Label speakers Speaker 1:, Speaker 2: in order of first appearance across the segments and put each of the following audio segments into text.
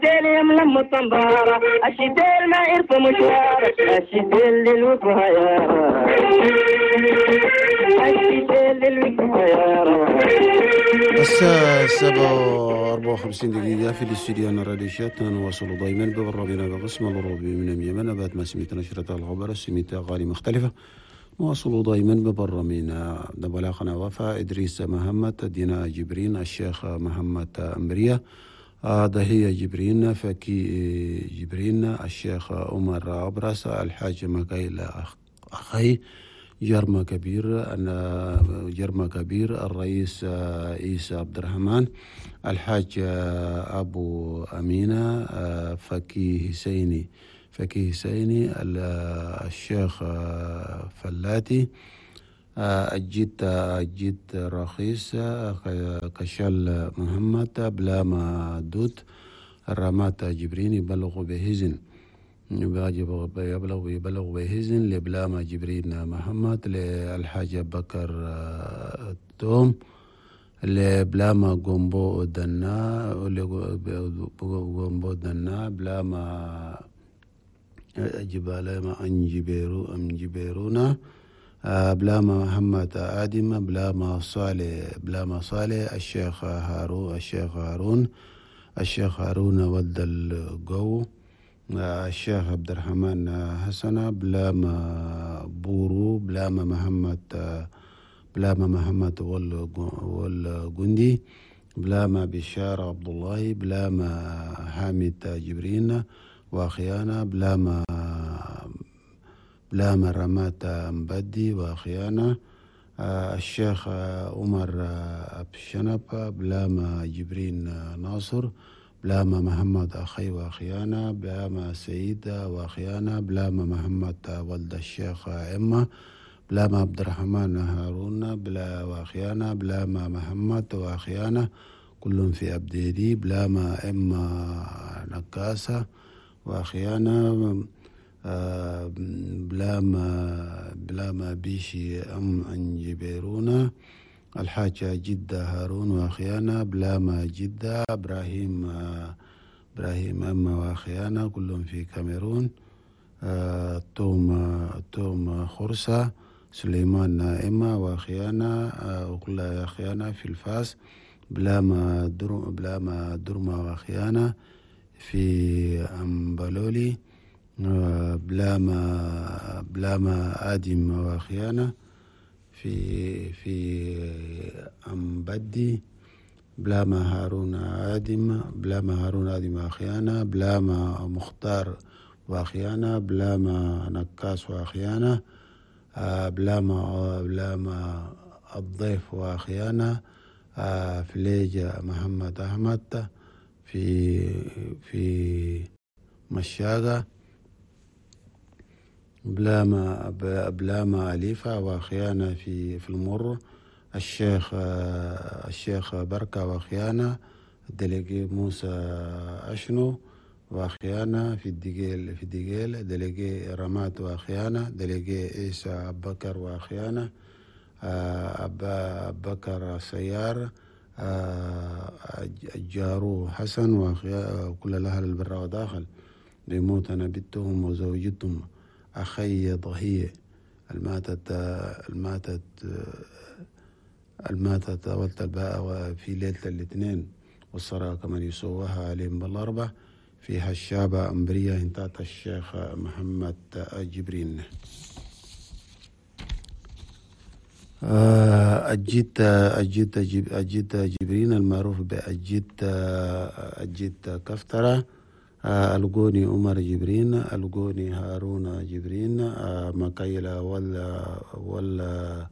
Speaker 1: يملم الطنبارة الشتيل ما يرفع مشوار الشتيل للوفايا الشتيل للوفايا.
Speaker 2: الساعة 7:54 في الاستوديو الراديو شات. نواصل دائما ببرنامجنا بقسم الأوروبي من اليمن بعد ما سمعت نشرة الخبر سمعت أغاني مختلفة. نواصل دائما ببرنامجنا بلاغنا وفاء إدريس محمد دينا جبرين الشيخ محمد أمرية دهية جبرين فكي جبرين الشيخ عمر أبرس الحاج مكايل أخي جرم كبير أنا جرم كبير الرئيس عيسى عبد الرحمن الحاج أبو أمينة فكي حسيني الشيخ فلاتي الجد رخيص كشال محمد بلاما دود الرمات جبرين يبلغ بهزن يبلغ بهزن لبلاما جبرين محمد للحاج بكر توم لبلاما جومبو دنا بلاما جبال ما أنجبيرونا بلاما محمد آدم بلاما صالح الشيخ هارون ولد الجو الشيخ عبد الرحمن حسن بلاما بورو بلاما محمد والجندي بلاما بشار عبد الله بلاما حامد جبرين وخيانة بلاما رمات مبدي وخيانة الشيخ عمر أبشنب بلاما جبرين ناصر بلاما محمد أخي وخيانة بلاما سعيد وخيانة بلاما محمد ولد الشيخ إما بلاما عبد الرحمن هارون بلا وخيانة بلاما محمد وخيانة كلهم في أبديدي بلاما إما نكاسة وخيانة بلاما بيشي أم أنجبيرونا الحاجة جدة هارون وخيانة بلاما جدة إبراهيم أما وخيانة كلهم في كاميرون توم خرسة سليمان إما وخيانة وكلها خيانة في الفاس بلاما درما وخيانة في أمبلولي بلاما آدم وخيانة في أمبدي بلاما هارون آدم وخيانة بلاما مختار وخيانة بلاما نكاس وخيانة بلاما الضيف وخيانة فليجة محمد أحمد في مشاقة بلاما أليفة وخيانة في المر الشيخ بركة وخيانة دليجي موسى أشنو وخيانة في الدقيل دليجي رمات وخيانة دليجي عيسى بكر وخيانة أبا بكر سيار الجارو حسن وكل الأهل البر وداخل بيموت أنا بنتهم وزوجتهم أخي ضهية الماتت ولت الباء في ليلة الاثنين والصلاة كمان يسووها عليهم بالأربع في هالشابة أمبرية انتات الشيخ محمد جبرين. أجيت جبرين المعروف بأجيت كفترة القوني عمر جبرين القوني هارون جبرين مكايلة ولا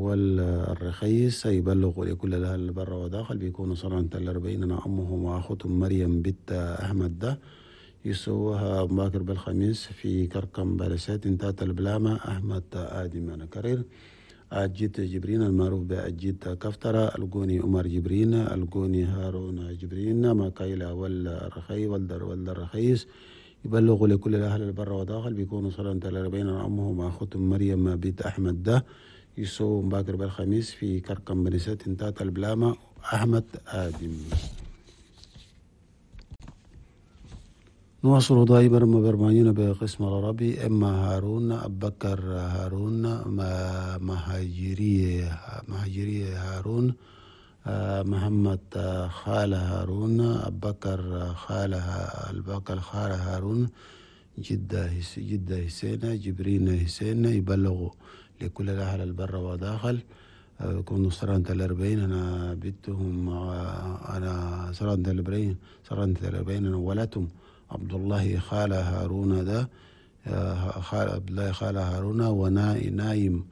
Speaker 2: والرخيص يبلغ لكل الأهل البر وداخل بيكونوا صلاة الأربعين أنا أمهم وأخوتهم مريم بنت أحمد ده يسووها باكر بالخميس في كركم بلسات انتات البلامة أحمد آدم. أنا كرير أجيت جبرين المعروف بأجيت كفترة القوني عمر جبرين القوني هارون جبرين مكايلة والرخي والرخيص يبلغوا لكل الأهل البر وداخل بيكونوا صلاة الأربعين أمهم وأخوتهم مريم بنت أحمد ده يسووا باكر بالخميس في كركم بنسات انتات البلامة أحمد آدم. نواصل دائما برنامجنا بقسم العربي. إما هارون أبكر هارون مهاجرية هارون، محمد خالة هارون، أبكر خالة البكر خالة هارون، جدة حسين، جبرين حسين، يبلغوا لكل الأهل البر وداخل. يكونوا سرانة الأربعين أنا بنتهم، أنا سرانة الأربعين، سرانة الأربعين أنا ولدتهم عبد الله خالة هارون ده، خال عبد الله خالة هارون ونايم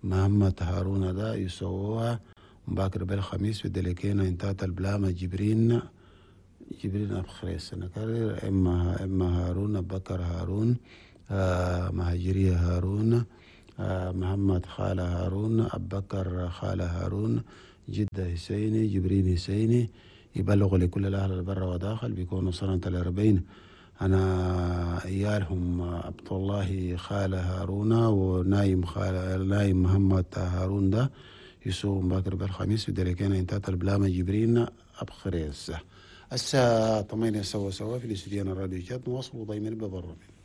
Speaker 2: محمد هارون ده يسووها باكر بالخميس في دلكينا انتهت البلامة جبرين أبخريس. نكرر إما هارون بكر هارون، مهاجرية هارون، محمد خالة هارون، أبكر خالة هارون، جدة حسيني، جبرين حسيني، يبلغ لكل الأهل البر وداخل بيكونوا سنة 40. أنا إيالهم عبد الله خالة هارون ونايم خالة نايم محمد هارون ده يسوم باكر بالخميس في دلكينا انتهت البلامة جبرين أبخريس. الساعة 8 سوا في الاستديو الراديو جات. نواصل دايما ببرنامج.